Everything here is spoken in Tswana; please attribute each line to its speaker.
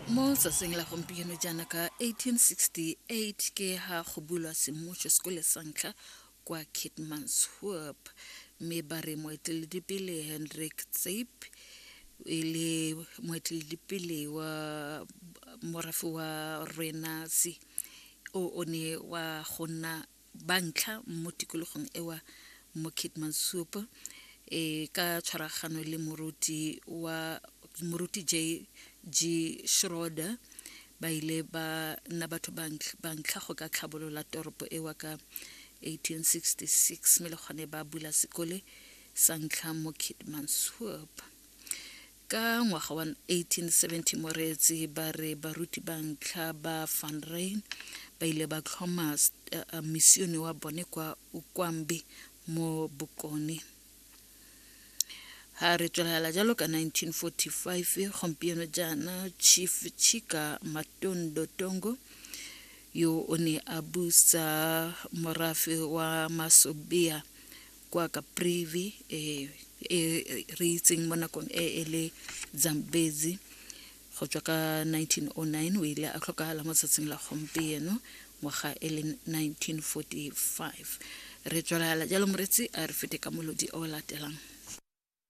Speaker 1: Mo tsatsing la gompieno jaana ka 1868 ke ha go bulwa semmušo sekole sa ntlha kwa Keetmanshoop, mme ba re moeteledipele Hendrik Tseip e le moeteledipele wa morafe wa Rwenasi o o ne wa go nna ba ntlha mo tikologong ewa mo Keetmanshoop e ka tshwaragano le moruti wa moruti J G Schroeder ba ile ba nna batho ba ntlha go ka tlhabolola toropo ewa ka 1866 mme le gone ba bula sekole sa ntlha mo Keetmanshoop. Ka ngwaga wa 1870 moreetsi ba re baruti ba ntlha ba Van Ryn ba ile ba tlhoma misione wa bone kwa Ukwambi mo Bokone. Ha re tswelela jalo ka 1945 gompieno jaana Chief Chika Matondo Tongo yo o ne a busa morafe wa Masobea kwa Caprivi e e re itseng mo nakong e e le Zambezi go tswa ka 1909 o ile a tlhokagala mo tsatsing la gompieno ngwaga e le 1945. Re tswelela jalo moretsi a re fete ka molodi o latelang.